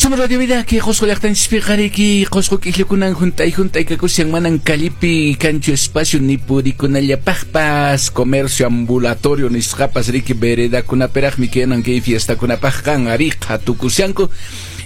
Somos Radio Vida, que Qosqo llaqtanchispiqa riki Qosqo k'ikllakunan hunt'ay hunt'ay kakushan manan callepi kanchu espacio ni purikunallapaqpas comercio ambulatorio nisqapas riki veredakunapiraqmi kanan kay fiestakunapaqqa ari qhatukushanku.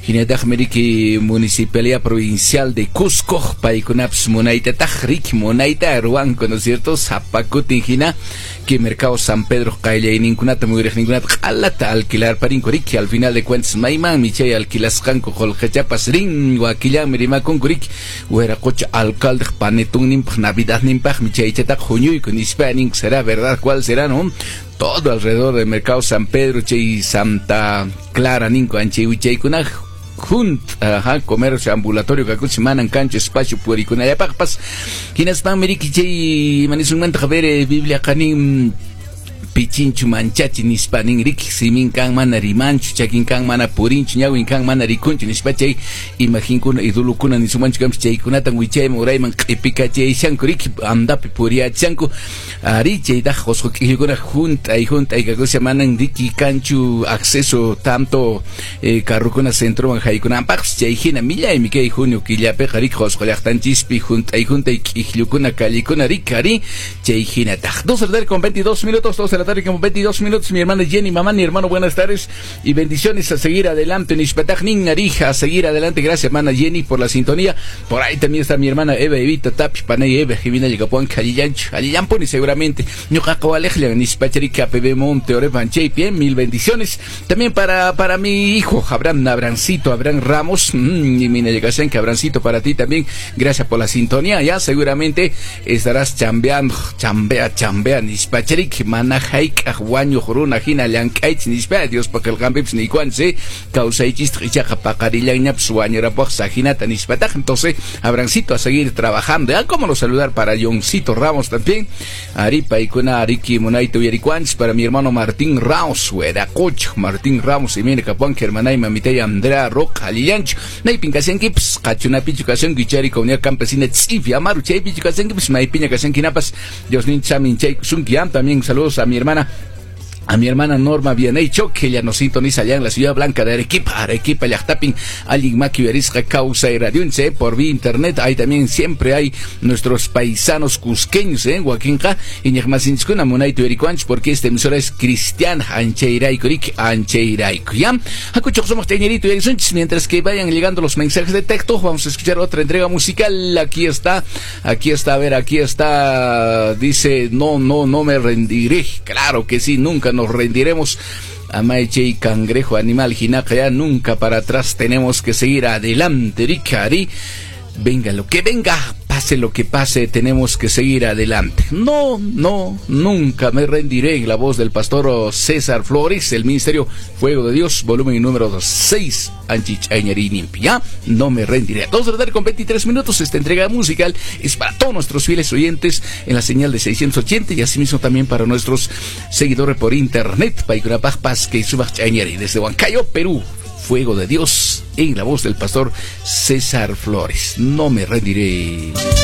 Hinataqmi riki Municipalidad Provincial de Cusco paykunapas munaytataq riki munayta ruwanku, ¿no es cierto? Sapa kutin hina que mercado San Pedro qayllayninkunata muyuriqninkunata q'alata alquilar parinku riki al final de cuentas maymanmi chay alquilasqanku qullqichapas rin wakillanmi rimakunku riki wiraqocha alcalde panetunninpaq navidadninpaqmi chaychataqa huñuyku nispa ninku. Será verdad, ¿cuál será, no? Todo alrededor del mercado San Pedro chay Santa Clara ninku anchay wichaykuna junt ajá, comercio ambulatorio kakuchi manan kanchu espacio purikunallapaqpas. Hinaspanmi riki chay manisunmanta ver Biblia qanin pichinchu manchachi nispa nin riki simin kan mana rimanchu chakin kan mana purinchu ñawin kan mana rikunchu nispa chay imaginkuna idulukuna nisumanchu kanpis chaykunatan wichayman urayman q'ipikachayashanku riki andapi puriyachanku ari chaytaq Qosqo k'ikllukuna hunt'ay hunt'ay kakusha manan riki kanchu acceso tanto carrukuna centroman haykunanpaqpis chay hina millaymi kay junio killapiqa riki Qosqo llaqtanchispi hunt'ay hunt'ay k'ikllukuna callikuna riki ari chay hinataq. 2 de la tarde con 22 minutos, 2 de la tarde con 22 minutos, mi hermana Jenny, mamá, mi hermano, buenas tardes y bendiciones, a seguir adelante, Nishpataq Arija, a seguir adelante, gracias hermana Jenny por la sintonía. Por ahí también está mi hermana Eva Evita Tapi, Panay Eva, Jimena Llegapuan, Calillancho, Alillamponi seguramente, Ñuqaqawalejla, Nishpachari, KPB Monte, Orepan Bien, mil bendiciones. También para mi hijo, Abraham Abrancito, Abraham Ramos, y mina llegasen, que Abrancito para ti también, gracias por la sintonía, ya seguramente estarás chambeando, chambea, chambea, Nishpacharik, mana hayk'aq wañuq runa hina llank'aychis nispa Dios paqelqanpipis niykuanchis kawsaychistaq ichaqa paqarillanñapis wañurapaq sajinata nispataq. Entonces Abrancito a seguir trabajando, ya cómo no saludar para Johncito Ramos también, ari paykuna ariki munayta uyarikuanchis, para mi hermano Martín Ramos, Hueracoch, Martín Ramos y mira kapuanki hermanay mamitay Andrea Roca alillanchu naypin kashankipis qachunapichu kashanki chari comunidad campesina tz'ifi amaru chaypichu kashankipis maypiña kashankinapas Dios ninchamin chaykusunki. También saludos a mi hermana Norma Vianey Choque, ella nos sintoniza allá en la Ciudad Blanca de Arequipa, Arequipa, llaqtapin, allin maki uyarisqa kawsay radionche, por vía internet, ahí también siempre hay nuestros paisanos cusqueños, wakinqa, iñiqmasinchiskuna munayta uyarikuanchis, porque esta emisora es cristiana, anchayrayku, riki, anchayrayku, ya. Hakuchuq sumaq chayñerito uyarisunchis, mientras que vayan llegando los mensajes de texto, vamos a escuchar otra entrega musical. Aquí está, a ver, aquí está, dice, no, no, no me rendiré, claro que sí, nunca nos rendiremos. Amaiche y cangrejo animal jinaca, ya nunca para atrás, tenemos que seguir adelante, Ricari. Venga lo que venga, pase lo que pase, tenemos que seguir adelante. No, no, nunca me rendiré. En la voz del pastor César Flores, el Ministerio Fuego de Dios, volumen número 6, Anchichañarinimpi. Ya, no me rendiré. 2 de la tarde con 23 minutos, esta entrega musical es para todos nuestros fieles oyentes en la señal de 680 y asimismo también para nuestros seguidores por internet. Paykunapaq Pasque Subach Chañari, desde Huancayo, Perú. Fuego de Dios, en la voz del pastor César Flores. No me rendiré.